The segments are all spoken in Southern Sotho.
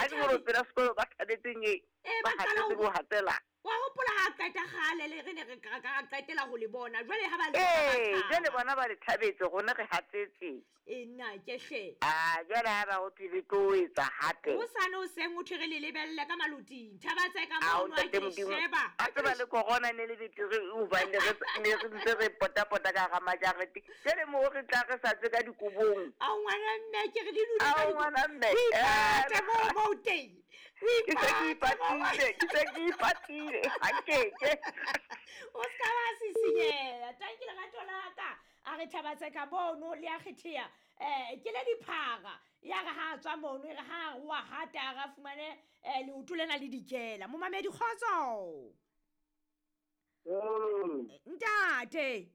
Ha ke gore pela sekolo ba thabetseng e. Ee, Ba ba qala hatetse ho- ho hatela. Wa hopola ha qeta kgale le re ne re ka ka qetela ho le bona. Jwale ha ba le Ee, ba jwale thaba. bona ba le thabetse rona re hatsetse. E nna ke hle. Ah, jwale ha ba ho thwe le tlo etsa hape. Hosane hoseng ho thwe re le lebelle ka maloting. Thaba tse ka Ao mono ha ntate ke le Modimo. sheba. A tseba le corona ne le betere hobane ne re ntse re pota-pota ka hara majarete. Jwale moo re tla re sa tswe ka dikobong. Ao ngwana mme ke re le dule ka Ao ngwana mme. O ipate Eh, moo mo o teng. O Ke se ke ipate moo. ipatile, ke se ke ipatile. Ha keke. O ska ba sisinyeha. Tanki lerato la ka. A re thaba tse ka mono le a kgetheha. Ke le diphara. Ya re ha a tswa mono, e re ha a wa hata a re fumane leoto lena le dikela. Momamedi kgotso. Ntate.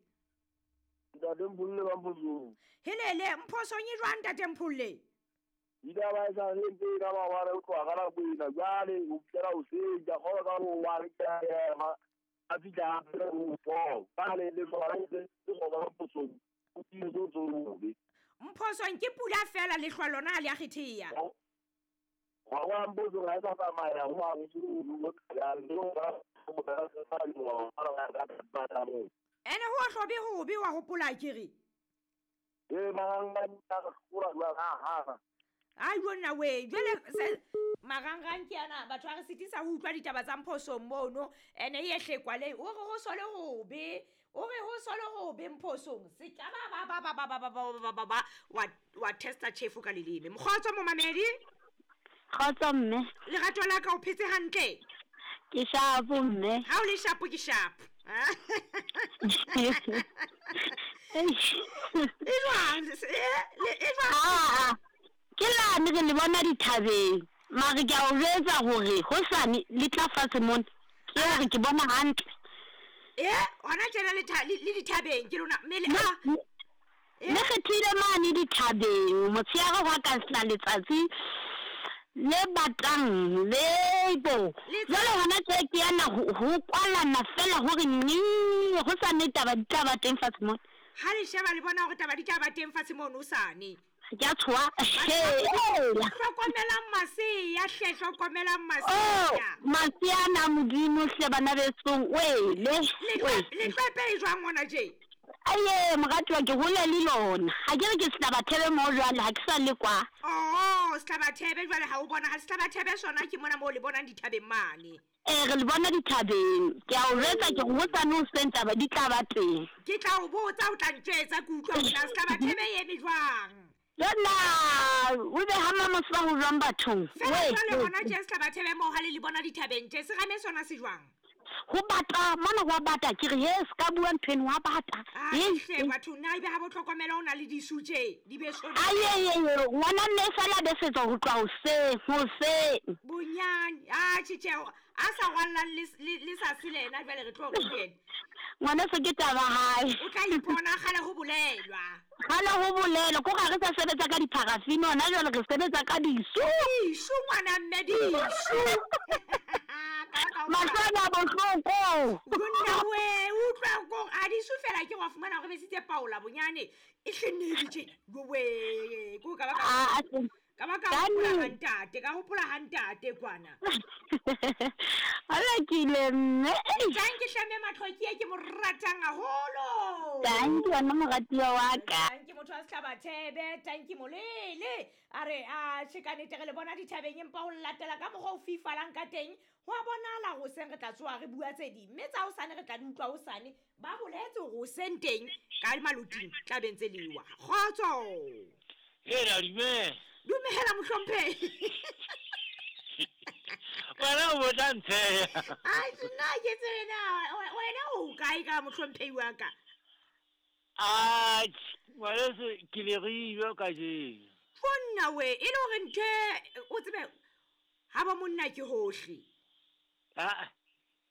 Ntate Mpholle ba Mphosong. Helele Mphosong e jwang ntate Mpholle? Ditaba e sa le ntse ka ba wa re tloha ka nako ena jwale ho fihlela hoseng ke a kgolwa ka ho wa re ke a ema a fihla hape ho four jwale le hlora ntse le hlora Mphosong o tiile so tsobe. Mphosong ke pula fela lehlwa lona ha le a kgetheha. Wa wa Mphosong ha e sa tsamaya ho hang ho Ene ho hlobe hobe wa hopola ke re. Ee marangrang a re hlola jwang ha hana. Ai jonna we, jwale marangrang ke ana batho ba re sitisa ho utlwa ditaba tsa Mphosong mono ene e hlekwa le o re ho sole hobe, o re ho sole hobe Mphosong se ka ba ba ba ba ba ba ba ba ba ba wa wa testa chefo ka leleme. Mokgotso momamedi, Kgotso mme, lerato la ka o phetse hantle. ke shapo mme. Ha o le shapo ke shapo. E jwang? E jwang? Aa, ke lane re le bona dithabeng. Mare ke a o jwetsa hore hosane le tla fatshe mona. Ke hore ke bona hantle. Hona tjena le le dithabeng ke lona mme le a Le kgethile mane dithabeng motshehare hwa ka sena letsatsi le batang le bo. Jwale hona tje ke yana ho kwalana fela hore nqi hosane taba di tla ba teng fatshe mona. Ha le sheba le bona hore taba di tla ba teng fatshe mono hosane. Ke a tshoha. Hlokomelang masea hle, hlokomelang masea. Masea ana Modimo hle bana besong wele. Letlwepe e jwang hona tje? Aye moratuwa ke hole le lona. Ha ke re ke Sehlabathebe moo jwale ha ke sa le kwa. Oh, Sehlabathebe jwale ha o bona ha Sehlabathebe sona ke mona moo le bonang dithabeng mane. Ee re le bona dithabeng. Ke a o jwetsa ke re hosane hoseng taba di tla ba teng. Ke tla o botsa o tla ntjwetsa ke utlwa hore na Sehlabathebe e eme jwang. Jonna o be ha Mamoseba ho jwang bathong. Fela jwale hona tje Sehlabathebe moo ha le le bona dithabeng tje serame sona se jwang? Ho bata mona ho a bata ke re he se ka bua ntho eno wa bata. Hle batho nna ebe ha bo tlhokomela o na le disu tje di be so. Aye ngwana nne sala besetsa ho tloha hoseng hoseng. Bonyane a tjhe tjhe a sa rwallang le sa selena jwale re tlo re ho yena. Ngwana se ke taba hae. O tla ipona kgale ho bolelwa. Kgale ho bolelwa ko ga re sa sebetsa ka dipharafini hona jwale re sebetsa ka disu. Disu ngwana mme disu. Mahlo ana bohloko. Monna we utlwa ko a disu fela ke wa fumana hore besitse Paula bonyane e hlenne tje. We ko ka ba ka ba ka hopola ha ntate, ka hopola ha ntate kwana. Ala ke ile mme. Tanki hlame matlhoki ke mo ratang haholo. Tanki wena moratiwa wa ka. Tanki motho wa Sehlabathebe, tanki molele. A re a tjhe ka nnete re le bona dithabeng empa ho latela ka mokgwa o fifalang ka teng. Ho a bonahala hoseng re tla tsoha re bua tse ding. Mme tsa hosane re tla di utlwa hosane. Ba boletse hore hoseng teng ka maloting tla be ntse lewa. Kgotso. Hela dumela. Dumela mohlomphehi. Wena o botsa ntsheya. Ai nna ke tsebe na wena o kae ka mohlomphehi wa ka? Ah, ngwaneso ke le riwe kajeno. Monna we, e le hore ntho o tsebe ha ba monna ke hohle. Ah,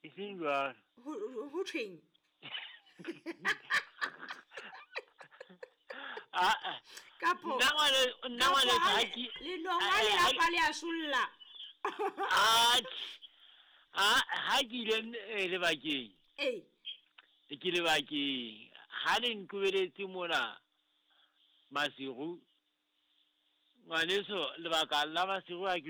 e seng jwalo. Ho thweng? Ah, kapo. Nna ngwane ha ke le nonga le lapa le a solla. Ah, ha ke ile lebakeng. Ee. Ke lebakeng. Ha le nqobeletse mona masiru. Ngwaneso lebaka la masiru ha ke